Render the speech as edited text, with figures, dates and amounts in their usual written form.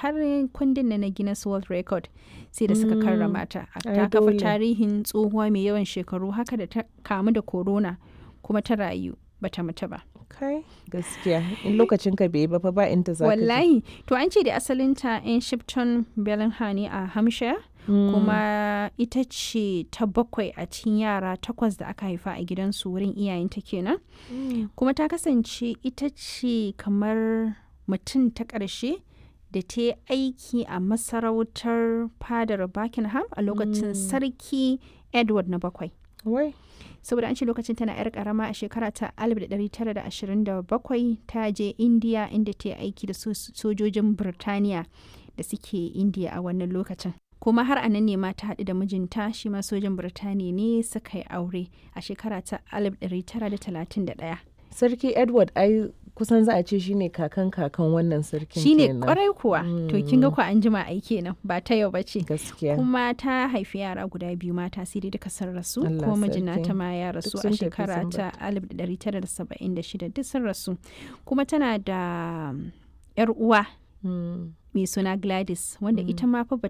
har kundin na Guinness World Record sai da suka karrama ta. Ai Ta kafa dole. tarihin tsohuwa mai yawan shekaru haka da ta kamu da corona kuma ta rayu bata mutu ba. Kai gaskiya in lokacin ka bai yi ba fa ba inda za ka je. Wallahi, to an ce da asalinta 'yan Shipton Bellingham ne a Hampshire. Kuma ita ce ta bakwai a cikin yara takwas da aka haifa a gidansu wurin iyayenta kenan. Kuma ta kasance ita ce kamar mutum ta ƙarshe da ta yi aiki a masarautar fadar Buckingham a lokacin Sarki Edward na bakwai. Wai. Saboda an ce lokacin tana 'yar karama a shekara ta 1927 ta je India, inda ta yi aiki da sojojin Birtaniya da suke India a wannan lokacin. Kuma har a nan ne ma ta haɗu da mijinta, shi ma sojan Birtaniya ne, suka yi aure a shekara ta 1931. Sarki Edward ai kusan za a ce shine kakan kakan wannan sarkin Shine kenan. kwarai kuwa. To kin ga kwa an jima ai kenan, ba ta yau bace. Gaskiya. Kuma ta haifi yara guda biyu mata, sai dai duka sun rasu. Allah Kuma mijin sarki. nata ma ya rasu sun a tafi shekara sun ta 1976, duk sun rasu. Kuma tana da yar uwa mai suna Gladys, wanda ita ma fa bata